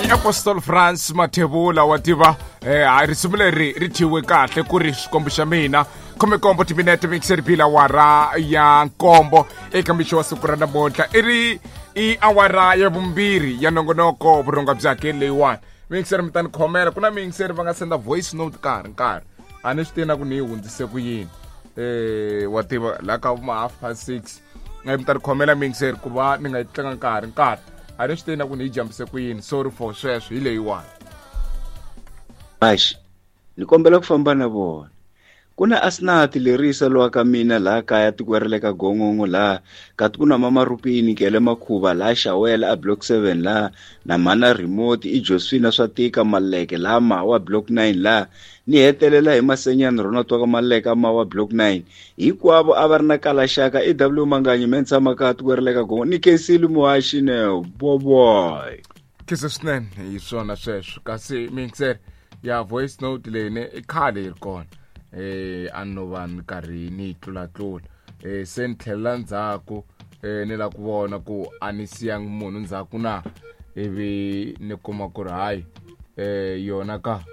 I Apostol France Mathebula wa tiva ha risimu leri ri thyiwe kahle ku ri xikombo xa mina. 17 timinete mixer bila awara ya nkombo eka mixo wa siku ra namuntlha. I ri i awara ya vumbirhi ya nongonoko vurhonga bya hakeli leyiwani. Mixer mi ta ni khomela, ku na mixer va nga senda voice note ka ha ri nkarhi, a ni swi tivi na ku ni yi hundzise ku yini. Wa tiva la ka ma 6:30 mi ta ni khomela mixer ku va ni nga yi tlanga nkarhi nkarhi, a ni swi tivi na ku ni yi jambise ku yini. Sorry for sweswo, hi leyiwani. Baxi ni kombela ku famba na vona. Ku na Asnath Lerisa lowa ka mina laha kaya tikweni ra le ka Gongongo laha, kati ku na Mama Rupini Kele Makhuva laha Xawela a Block 7 laha, na mhana Remote i Josephina Swatika Maleke laha Mawa Block 9 laha, ni hetelela hi Masenyani Ronald wa ka Maleke a Mawa Block 9. Hinkwavo a va ri na kalaxaka i W Manganyi me ni tshama kaya tikweni ra le ka Gongongo ni khensile muhaxi ne boboy. Khensa swinene hi swona sweswo. Kasi mixer ya voice note leyi ne i khale yi ri kona, a no va ni karhi ni yi tlulatlula, se ni tlhelela ndzhaku, ni la ku vona ku a ni siyangi munhu ndzhaku na, ivi ni kuma ku ri hayi, yona ka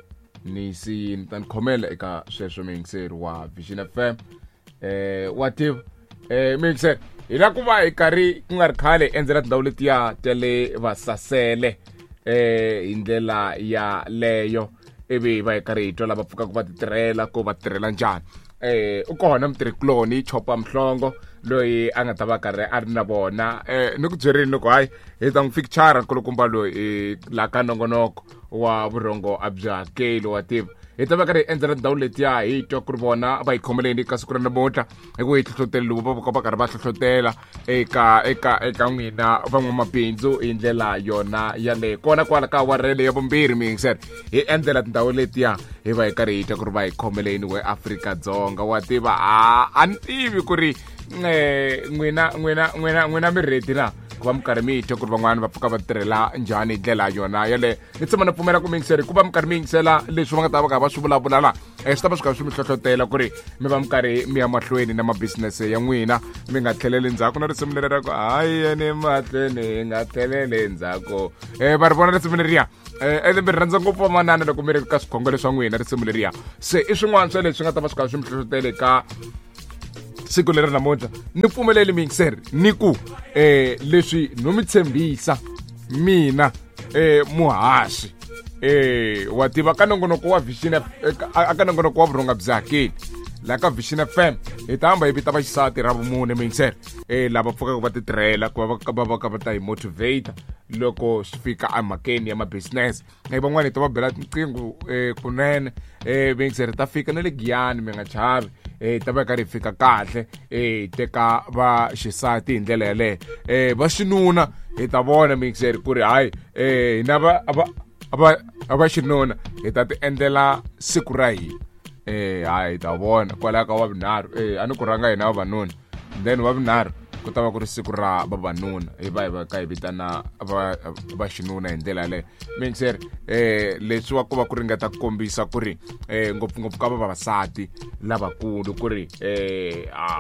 ni siyini. Ta ni khomela eka sweswo mixer wa Vision FM. Wa tiva mixer hi la ku va hi karhi ku nga ri khale endzela tindhawu letiya ta le vasasele, hi ndlela ya leyo, ivi va hi karhi hi twa lava pfukaka va titirhela ku va tirhela njhani. U kona mutirhikuloni Chopa Mhlongo loyi a nga ta va karhi a ri na vona. Ni ku byerini loko hayi hi ta n'wi fikichara nkulukumba loyi la ka nongonoko wa vurhongo a byi hakeli. Wa tiva hi ta va karhi hi endzela tindhawu letiya hi twa ku ri vona va yi khomeleni ka siku ra namuntlha, hi ku hi hlohlotelo lowu va va karhi va hlohlotela eka eka eka n'wina van'wamabindzu hi ndlela yona yaleyo. Kona kwala ka awara ya vumbirhi mixer hi endzela tindhawu letiya hi va hi karhi hi twa ku ri va hi khomeleni we Afrika-Dzonga. Wa tiva a ni tivi ku ri n'wina n'wina n'wina n'wina mi ready na ku va mi karhi mi twa ku ri van'wani va pfuka va tirhela njhani hi ndlela yona yaleyo. Ni tshama ni pfumela ku miyingiseri ku va mi karhi mi yingisela leswi va nga ta va karhi va swi vulavula la, swi ta va swi karhi swi mi hlohlotela ku ri mi va mi karhi mi ya mahlweni na mabisinese ya n'wina, mi nga tlheleli ndzhaku. Na risimu leri ra ku hayi yeni mahlweni hi nga tlheleli ndzhaku, va ri vona risimu leriya. Ene mi rhandza ngopfu vamanana loko mi ri ka swikhongelo swa n'wina risimu leriya. Se i swin'wana swa leswi nga ta va swi karhi swi mi hlohlotela eka siku leri namuntlha. Ni pfumeleli miyingiseri ni ku leswi no mi tshembisa mina muhaxi, wa tiva ka nongonoko wa Vision, aka nongonoko wa vurhonga bya hakeli la ka Vision FM, hi ta hamba hi vita vaxisati ra vumune miyingiseri, lava pfukaka va titirhela ku va va va va ta hi motivate loko swi fika emhakeni ya ma-business. Van'wani hi ta va bela tinqingho kunene, miyingiseri ta fika na le Giyani, mi nga chavi, ta va karhi hi fika kahle, hi teka va xisati hi ndlela yaleyo. Va xinuna hi ta vona miyingiseri ku ri hayi, hina va va va va xinuna hi ta ti endlela siku ra hina. Hayi hi ta vona kwalaya ka wavunharhu, a ni ku rhanga hina vavanuna, then wavunharhu ku ta va ku ri siku ra vavanuna, hi va hi va ka hi vitana va va xinuna hi ndlela yaleyo miyingiseri. Leswiwa ku va ku ringeta ku kombisa ku ri ngopfungopfu ka vavasati lavakulu ku ri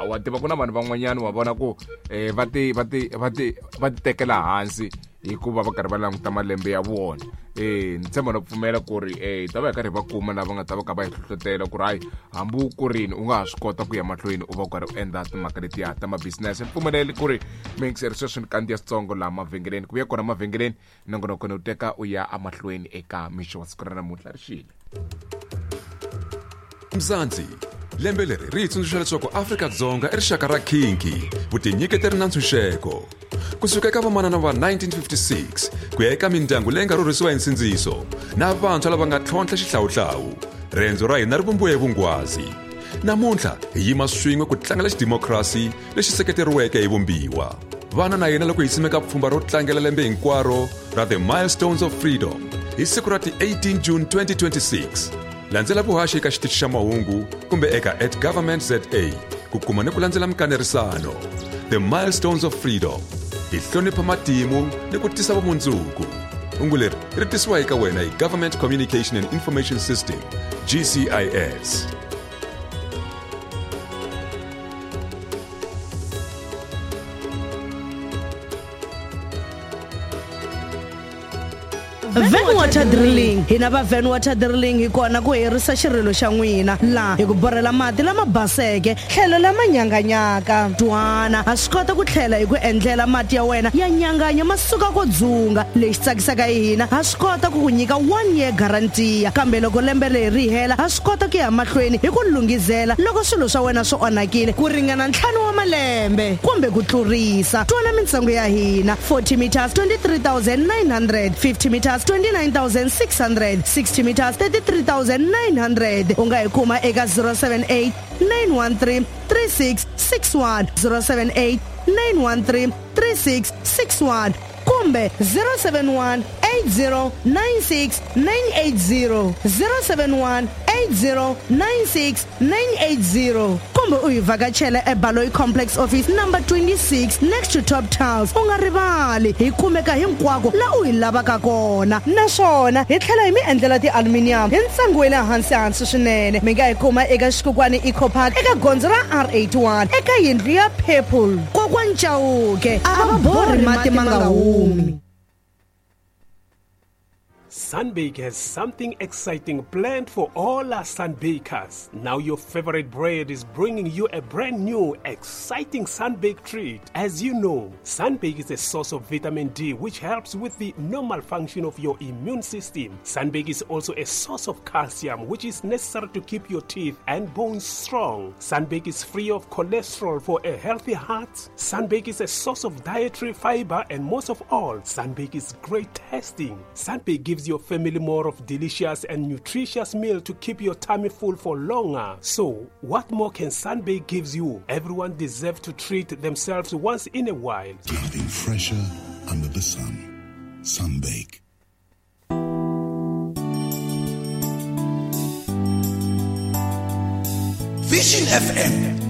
wa tiva ku na vanhu van'wanyana wa vona ku va ti va ti va ti va ti tekela hansi hikuva va karhi va languta malembe ya vona. Ni tshemba no pfumela ku ri hi ta va hi karhi hi va kuma lava nga ta va ka va hi hlohlotela ku ri hayi hambi u kurini u nga ha swi kota ku ya mahlweni u va u karhi u endla timhaka letiya ta ma-business. Ni pfumeleli ku ri miyingiseri sweswi ni kandziya switsongo laha mavhengeleni, ku vuya kona mavhengeleni nongonoko ni u teka u ya emahlweni eka mixo wa siku ra namuntlha ri xile. Mzansi lembe leri ri hi tsundzuxa leswaku Afrika-Dzonga i rixaka ra khinki, vutinyiketeri na ntshunxeko. Kusuka eka vamanana va 1956 ku ya eka mindyangu leyi nga rhurhisiwa hi nsindziso na vantshwa lava nga tlhontlha xihlawuhlawu, riendzo ra hina ri vumbiwe hi vungwazi. Namuntlha hi yima swin'we ku tlangela xidimokirasi lexi seketeriweke hi vumbiwa. Vana na hina loko hi simeka pfhumba ro tlangela lembe hinkwaro ra The Milestones of Freedom hi siku ra ti 18 June 2026. Landzela vuhaxi eka xitichi xa mahungu kumbe eka at government za ku kuma ni ku landzela mikanerisano. The Milestones of Freedom, hi hlonipha matimu ni ku tisa vumundzuku. Hungu leri ri tisiwa eka wena hi Government Communication and Information System, GCIS. Van Water Drilling. Hina va Van Water Drilling hi kona ku herisa xirilo xa n'wina laha hi ku borhela mati lama baseke tlhelo lama nyanganyaka. Twana, ha swi kota ku tlhela hi ku endlela mati ya wena ya nyanganya ma suka ko dzunga. Lexi tsakisaka hi hina, ha swi kota ku ku nyika 1 year guarantee, kambe loko lembe leri ri hela ha swi kota ku ya mahlweni hi ku lunghizela loko swilo swa wena swi onhakile ku ringana 5 wa malembe kumbe ku tlurisa. Twana mintsengo ya hina: 40 meters 23,900, 50 meters 29,600, 60 meters 33,900. U nga hi kuma eka 078 913 3661, 078 913 3661 kumbe 071 8096 980, 071 8096 980, kumbe u hi vhakachela eBaloyi Complex Office number 26 next to Top Tiles. U nga rivali, hi kumeka hinkwako la u hi lavaka kona, naswona hi tlhela hi mi endlela ti-aluminium hi ntsengo wa le hansi hansi swinene. Mi nga hi kuma eka Xikukwani Eco Park eka gondzo ra R81 eka yindlu ya Purple. Kokwani Chauke a va borhi mati ma nga humi. Sunbake has something exciting planned for all our sunbakers. Now your favorite bread is bringing you a brand new, exciting Sunbake treat. As you know, Sunbake is a source of vitamin D, which helps with the normal function of your immune system. Sunbake is also a source of calcium, which is necessary to keep your teeth and bones strong. Sunbake is free of cholesterol for a healthy heart. Sunbake is a source of dietary fiber, and most of all, Sunbake is great tasting. Sunbake gives your family more of delicious and nutritious meal to keep your tummy full for longer. So, what more can Sunbake gives you? Everyone deserves to treat themselves once in a while. Nothing fresher under the sun. Sunbake. Vision FM.